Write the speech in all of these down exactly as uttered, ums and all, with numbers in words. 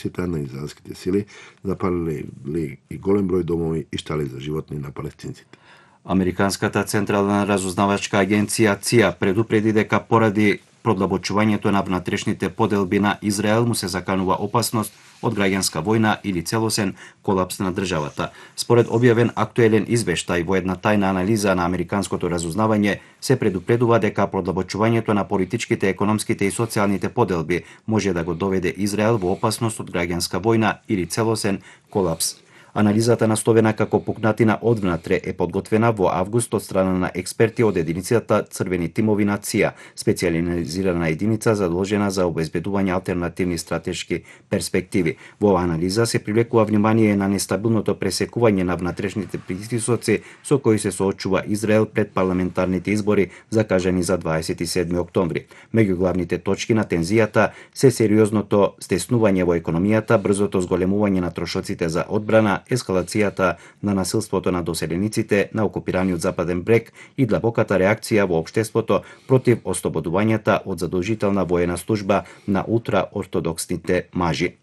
агресијата на израелските сили, запалиле и голем број домови и штали за животни на палестинците. Американската централна разузнавачка агенција ЦИ А предупреди дека поради продлабочувањето на внатрешните поделби на Израел му се заканува опасност од граѓанска војна или целосен колапс на државата. Според објавен актуелен извештај во една тајна анализа на американското разузнавање, се предупредува дека продлабочувањето на политичките, економските и социјалните поделби може да го доведе Израел во опасност од граѓанска војна или целосен колапс. Анализата наставена како пукнатина одвнатре е подготвена во август од страна на експерти од единицата Црвени тимови на ЦИ А, специјализирана единица задолжена за обезбедување алтернативни стратешки перспективи. Во оваа анализа се привлекува внимание на нестабилното пресекување на внатрешните притисоци со кои се соочува Израел пред парламентарните избори закажани за дваесет и седми октомври. Меѓу главните точки на тензијата се сериозното стеснување во економијата, брзото зголемување на трошоците за одбрана, ескалацијата на насилството на доселениците на окупираниот Западен брег и длабоката реакција во општеството против ослободувањата од задолжителна воена служба на ултраортодоксните мажи.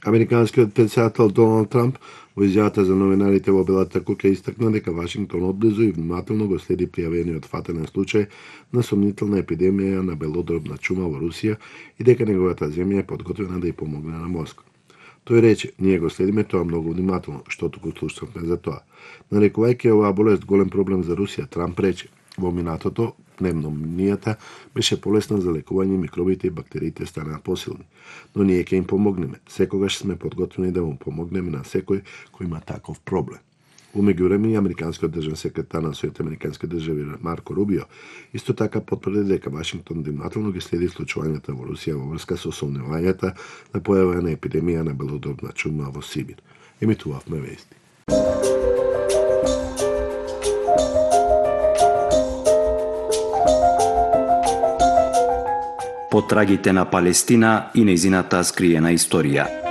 Американскиот претседател Доналд Трамп во изјавата за новинарите во Белата куќа истакна дека Вашингтон одблизу и внимателно го следи пријавениот фатален случај на сомнителна епидемија на белодробна чума во Русија и дека неговата земја е подготвена да ја помогне на Москва. Тој рече: "Ние го следиме тоа многу внимателно, што туку слушнавме за тоа." Нарекувајќи оваа болест голем проблем за Русија, Трамп рече: "Во минатото пневмонијата беше полесна за лекување, микробите и бактериите станаа посилни, но ние ќе им помогнеме. Секогаш сме подготвени да му помогнеме на секој кој има таков проблем." Во меѓувреме, американскиот државен секретар на Соединетите американски држави Марко Рубио исто така потврди дека Вашингтон внимателно ги следи случувањата во Русија во врска со сомневањата на појава на епидемија на белодробна чума во Сибир. Емитувавме вести. Потрагите на Палестина и нејзината скриена историја.